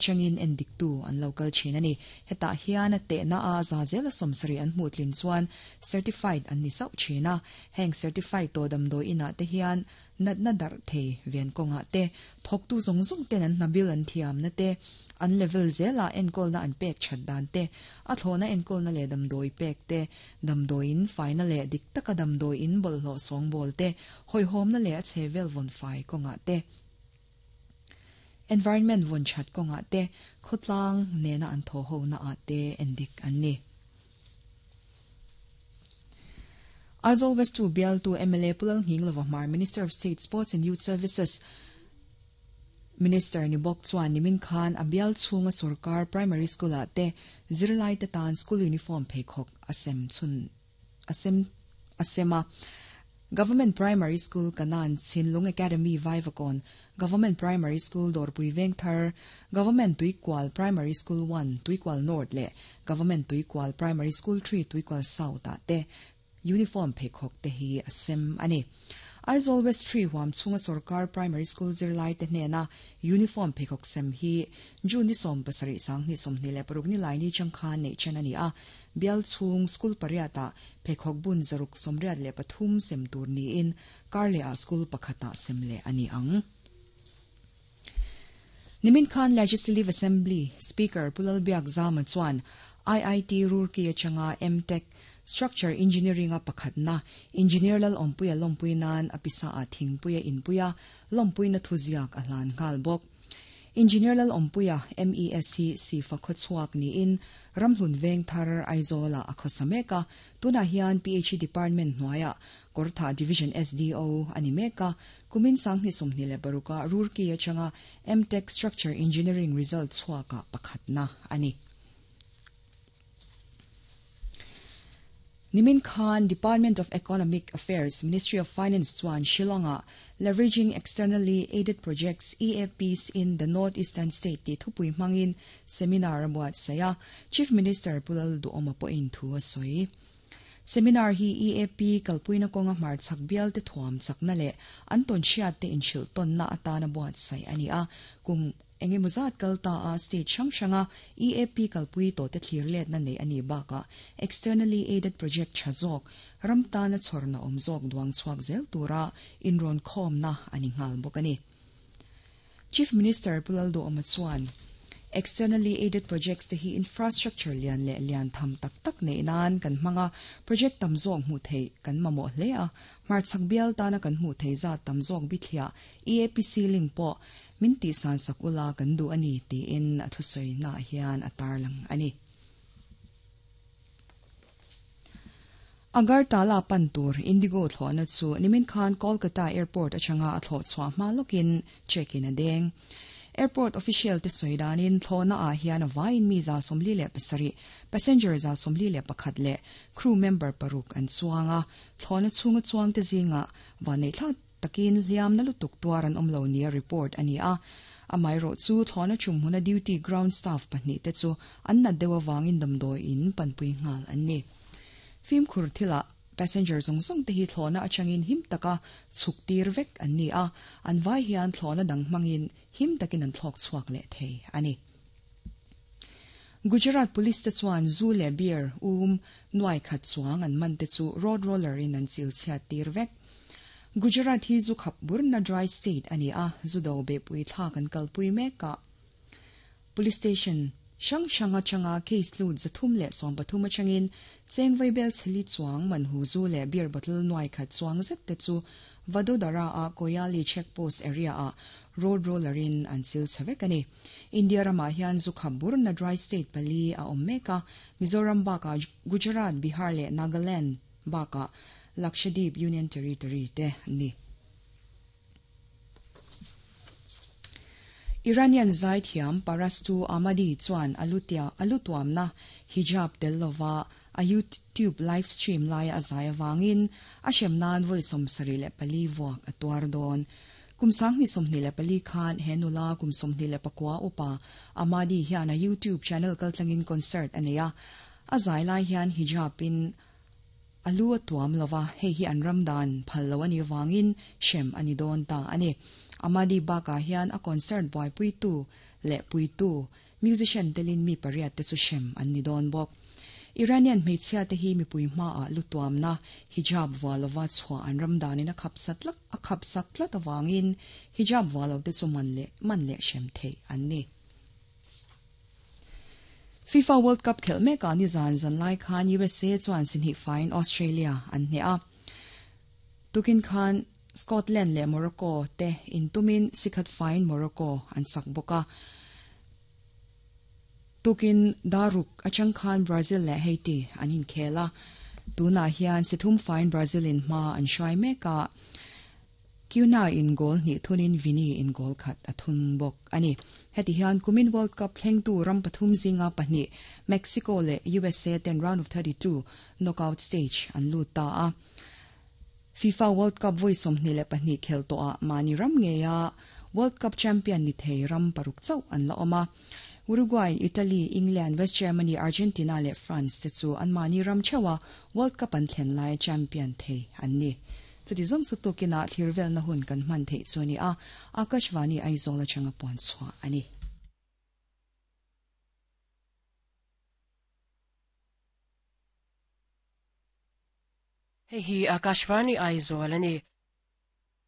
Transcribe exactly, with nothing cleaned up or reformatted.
Changin endik tu an local chin ani heta hian a te na a za zela somsari an hmutlin chuan certified an ni chau china heng certified to dam do ina te hian nat na dar the ven konga te thok tu zong zong ten an nabil an thiam na te an level zela enkol na an pek chat dan te a thona enkol na le dam doi pek te dam doin final le dik taka dam doi in bol lo song bol te hoi hom na le a chevel von fai konga te environment von chat konga te khotlang ne na an tho ho na a te endik an ni. Aizawl West two B L two M L A Pulal Nghinglova Hmar Minister of State Sports and Youth Services Minister ni bok chuan nimin khan abial chhunga sarkar primary school a te zirlai te tan school uniform pheikhok asem chun asem asema Government Primary School Kanan Chinlung Academy Vaivakon Government Primary School Dorpui Vengthar Government Tuikwal Primary School one Tuikwal North le Government Tuikwal Primary School three Tuikwal South a te uniform pheikhok te hi asem ani. Aizawl West three huam chunga sarkar primary school zirlai te hnena uniform pheikhok sem hi June ni som pasari sang ni som ni le paruk ni lai ni changkhan nei chen ani a bial chung school pariata pheikhok bun zaruk somriat le pathum sem tur ni in karle a school pakhata sem le ani ang. Nimin Khan Legislative Assembly Speaker Pulal Biak Zama chuan I I T Roorkee achanga M Tech Structure Engineering a pakhatna Engineer lal ompuia lompui nan apisa a thingpuia inpuia lompui na thuziak a hlan ngal bok. Engineer lal ompuia M E S C si fakhochuak ni in ramhlun veng thar Aizola a khosameka tuna hian P H E Department hnuaia Kortha Division S D O animeka kumin sangni somni le baruka Roorkee achanga M Tech Structure Engineering result chuaka pakhatna ani. Nimin Khan Department of Economic Affairs Ministry of Finance chuan Shillonga Leveraging Externally Aided Projects E A Ps in the Northeastern State ti thupui mangin seminar buat saya Chief Minister Pulal Duoma po in thu soi. Seminar hi E A P kalpuina konga mar chakbial te thuam chakna le anton chiat te inchil ton na atana buat sai ani a kum enge muzat kalta a state chang changa E A P kalpui to te thlir let na nei ani baka externally aided project chazok ramta na chorna omzok duang chuak zel tura inron khom na ani ngal bokani. Chief Minister Pulal Duoma chuan externally aided projects te hi infrastructure lian le lian tham tak tak nei nan kan hmanga project tam zawk hmu thei kan mamo hle a mar chakbial ta na kan hmu thei za tam zawk bithia E A P C link po min ti san sakula kan du ani ti in a thusoi na hian atar lang ani. Agartala Pantur Indigo thlona chu nimin khan Kolkata Airport achanga a thlo chwa ma lokin check in a deng. Airport official te soidanin thlona a hian vain mi za somli le pasari passenger za somli le pakhat le crew member paruk an chuanga thlona chunga chuang te zinga wanei thla takin hliam na lutuk tuaran omlo nia report ani a amai ro chu thlona chum huna duty ground staff pahnih te chu an na dewa wangin damdoi in panpui ngal an ni. Phim khur thila passenger zong zong te hi thlona achangin him taka chuk tir vek an ni a an vai hian thlona dang mangin him takin an thlok chuak le thei ani. Gujarat Police te chuan zu le beer um nuai khat chuang an man te chu road roller in an chil chhia tir vek. Gujarat hi zu khap burna dry state ani a zu do be pui thla kan kalpui meka police station shang shanga changa case lut zathum le som pathum achangin chengvai bel chheli chuang man hu zu le beer bottle nuai khat chuang zet te chu Vadodara a Koyali checkpost area a road roller in an chil chhavek ani. India rama hian zu khap burna dry state pali a om meka Mizoram baka Gujarat Bihar le Nagaland baka Lakshadweep Union Territory te ni. Iranian zaithiam Parastu Ahmadi chuan alutia alutuamna hijab tellova a YouTube live stream lai a zai wangin a shemnan voi somsari le pali wak atuar don. Kumsang ni somni le pali khan henula kumsomni le pakwa upa Ahmadi hian a YouTube channel kaltlangin concert ania a zai lai hian hijab in alu tuam lova hei hi an ramdan phallo ani wangin shem ani don ta ani. Amadi baka hian a concert boy pui tu Le puitu musician telin mi pariat te chu shem an ni don bok. Iranian hmeichhia te hi mipui hma a lutuam na hijab walova chhuwa an ramdanin a khapsat lak a khapsak tlat awangin hijab walo te chu man le man le shem thei an ni. FIFA World Cup khel mek a ni zan zan lai khan U S A chuan sinhi fine Australia an hne a. Tukin khan Scotland le Morocco te intumin sikhat fine Morocco an sak boka. Tukin daruk achang khan Brazil le Haiti an in khela. Tuna hian sithum fine Brazil in ma an shai meka. Kiuna in goal ni thunin Vini in goal khat athun bok ani. Heti hian kumin World Cup thlengtu ram pathum zinga pahnih Mexico le U S A ten round of thirty-two knockout stage an lut ta a. FIFA World Cup voi somhni le pahnih khel to a mani ram nge ya World Cup champion ni thei ram paruk chau an la oma. Uruguay, Italy, England, West Germany, Argentina le France te chu an mani ram chewa World Cup an thlen lai champion thei an ni. Chuti zong chu tukina thirvel na hun kan man thei chu ni a Akashvani Aizawl atanga puan chhuah ani. Hei hi Akashvani Aizawl ani.